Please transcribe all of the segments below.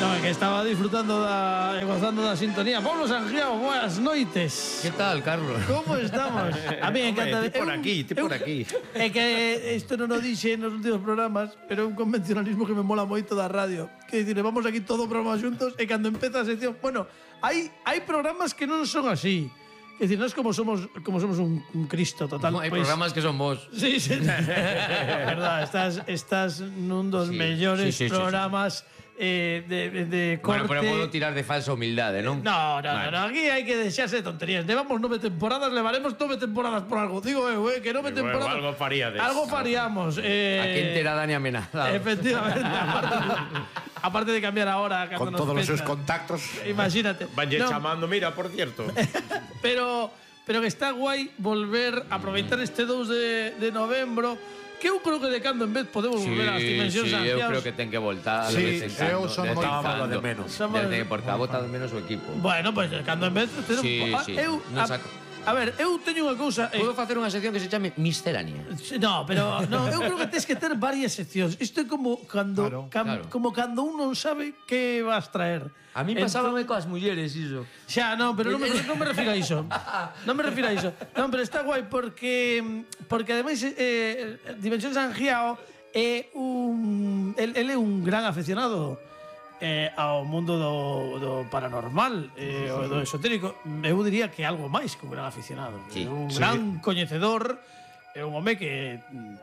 No, que estaba disfrutando e gozando da sintonía. Pablo Sangiao, boas noites. Que tal, Carlos? Como estamos? A mí me encanta. Ti por aquí. É que isto non o dixe nos últimos programas, pero é un convencionalismo que me mola moito da radio. Que dicir, vamos aquí todo o programa xuntos e cando empeza a sección, bueno, hai programas que non son así. É dicir, nós como somos un Cristo total. Hai programas que son vos. Sí, sí. Verdad, estás nun dos mellores programas de corte. Bueno, pero podo tirar de falsa humildade, non? No, aquí hai que deixarse de tonterías. Levamos 9 temporadas, levaremos 9 temporadas por algo. Digo que 9 temporadas. Algo faríades. Algo faríamos. A quen terá Dani amenazado. Efectivamente. Aparte de cambiar ahora con todos los sus contactos. Imagínate. Valle chamando, mira, por cierto. Pero que está guai volver a aproveitar este 2 de novembro. Que eu creo que de cando en vez podemos volver ás dimensións Sangiaos. Sangiaos. Eu creo que ten que voltar. Sí, eu son moi fan de menos. Porque a bota de menos o equipo. Bueno, pues de cando en vez A ver, eu teño unha cousa. Podo facer unha sección que se chame Miscelánea. No, pero no, eu creo que tens que ter varias seccións. Isto é como cando como cando un non sabe que vas traer. A mí pasábame coas mulleres iso. Xa, non, pero non me refiro a iso. Non me refiro a iso. Non, pero está guai porque ademais Dimensión Sangiao é ele é un gran afeccionado ao mundo do paranormal o do esotérico. Eu diría que algo máis que un gran aficionado. Un gran coñecedor. É un home que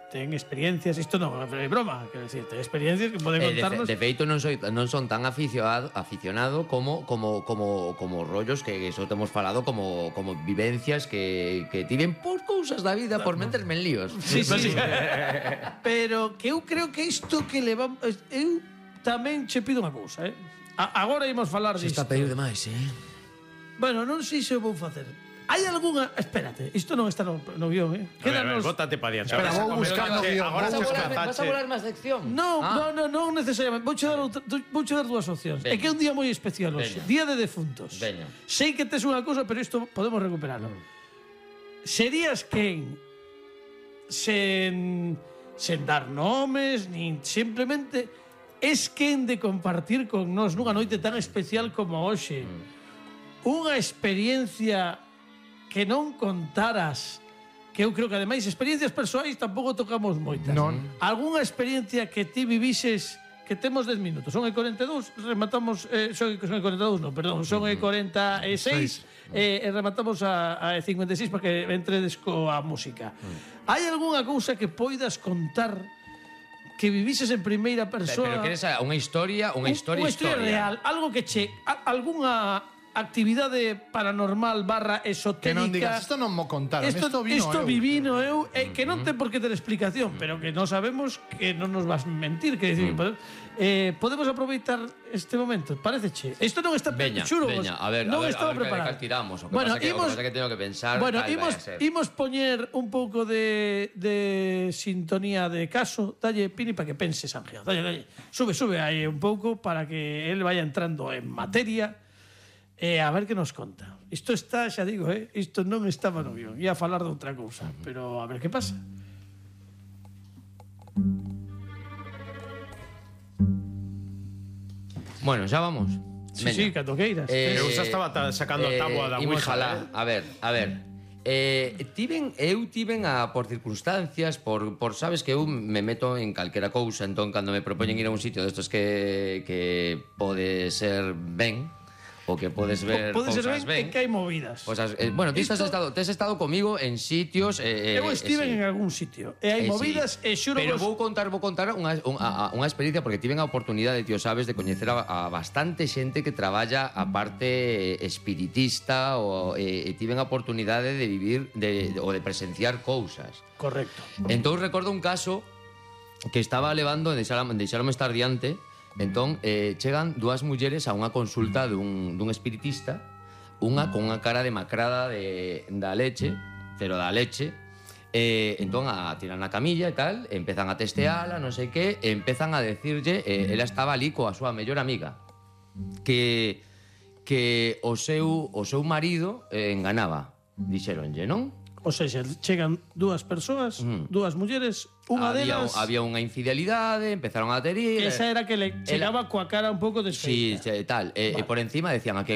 ten experiencias. Isto non é broma, quero dicir, ten experiencias que pode contarnos. De feito non son tan aficionado como rollos que eso temos falado como vivencias que tiven por cousas da vida, por meterme en líos. Sí. Pero que eu creo que isto que levamos, eu tamén che pido unha cousa, agora imos falar disto. Se está a pedir demais, Bueno, non sei se o vou facer. Hai algunha... Espérate, isto non está no guión, A ver, bótate pa diante. Espera, vou buscar no guión. Vas a volar máis sección? Non necesariamente. Vouche dar dúas opcións. É que é un día moi especial hoxe. Día de defuntos. Veña. Sei que tes unha cousa, pero isto podemos recuperarlo. Serías quen sen dar nomes, nin simplemente es quen de compartir con nós nunha noite tan especial como hoxe unha experiencia que non contaras, que eu creo que ademais experiencias persoais tampouco tocamos moitas. Non. Algunha experiencia que ti vivises, que temos 10 minutos, son e 42, rematamos, son e 42 non, perdón, son e 46 e rematamos a 56 para que entredes coa música. Hai algunha cousa que poidas contar que vivises en primeira persoa? Pero queres unha historia real, algo que che algunha actividade paranormal / esotérica. Que non digas, isto non mo contaron, isto vivino eu, que non ten por que ter explicación, pero que non sabemos que non nos vas mentir, que decir, podemos aproveitar este momento, pareceche? Isto non está xuro, a ver, estaba preparado. Tiramos, o que pasa que teño que pensar. Bueno, imos poñer un pouco de sintonía de caso. Dalle, Pini, para que pense Sangiao. Dalle. Sube aí un pouco para que el vaya entrando en materia. A ver que nos conta. Isto está, xa digo, isto non estaba no guión. Ia falar de outra cousa, pero a ver que pasa. Bueno, xa vamos. Sí, cando queiras. Eu xa estaba sacando a táboa da Ouija. A ver. Eu tiven por circunstancias, por sabes que eu me meto en calquera cousa, entón cando me propoñen ir a un sitio destos que pode ser ben, o que podes ver cousas ben, que hai movidas. Bueno, ti tes estado comigo en sitios. Eu estive en algún sitio e hai movidas e xuro. Pero vou contar unha experiencia porque tiven a oportunidade, tío, sabes, de coñecer a bastante xente que traballa a parte espiritista e tiven a oportunidade de vivir ou de presenciar cousas. Correcto. Entón recordo un caso que estaba levando, deixaronme estar diante. Entón, chegan dúas mulleres a unha consulta dun espiritista, unha con unha cara demacrada da leche, pero da leche, entón a tirar na camilla e tal, empezan a testeala, non sei que, e empezan a decirlle, ela estaba ali coa súa mellor amiga, que o seu marido enganaba, dixeronlle, non? O seja, chegan dúas persoas, dúas mulleres, unha delas... Había unha infidelidade, empezaron a terir... Esa era que le chegaba coa cara un pouco Sí, desfeita. tal. E por encima decían a que